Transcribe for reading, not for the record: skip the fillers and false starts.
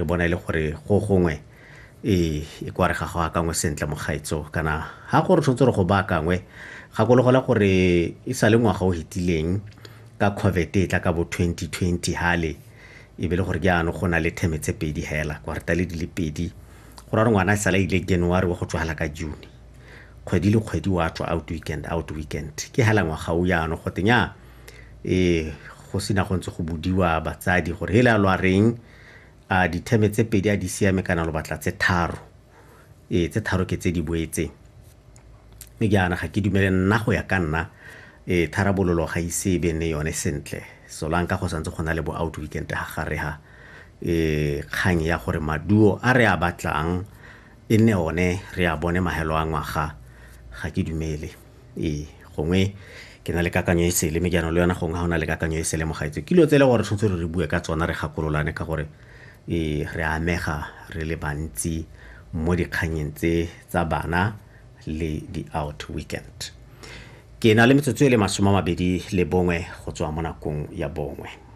Re bona e le gore go gongwe e e kwa re ga go akangwe sentle mogaetso, kana ga gore tshwanetse re go baakangwe. Gakologelwa gore e sa le ngwaga o fetileng ka COVID e tla ka bo 2020 hale, e be le gore jaanong go na le theme tse pedi hela, kwartale di le pedi. Go ra gore ngwana e sala ile January wa go tswala ka June, kgwedi le kgwedi wa tswa out weekend, out weekend. Ke hela ngwaga o jaanong go tenya e go sena go ntse go bodiwa batsadi gore hela lo a reng, a ditheme tse pedi a di siame kana lo batla tse tharo? Ee, tse tharo ke tse di boetseng. Mme jaana ga ke dumele nna, go ya ka nna, e tharabololo ga ise e be ne yone sentle, solanka go santse go na le bo out weekend ga gare ha e kgang ya gore maduo a re a batlang e nne one re a bone mahelo a ngwaga, ga ke dumele. Ee, gongwe ke na le kakanyo e sele, mme jaanong le yona gongwe ga o na le kakanyo e sele mogaetso, ke dilo tse e le gore tshwanetse re bue ka tsona, re gakololane, ka gore e re amega re le bantsi mo dikganyeng tse tsa bana le di-out weekend. Ke na le metsotso e le 21 go tswa mo nakong ya 1.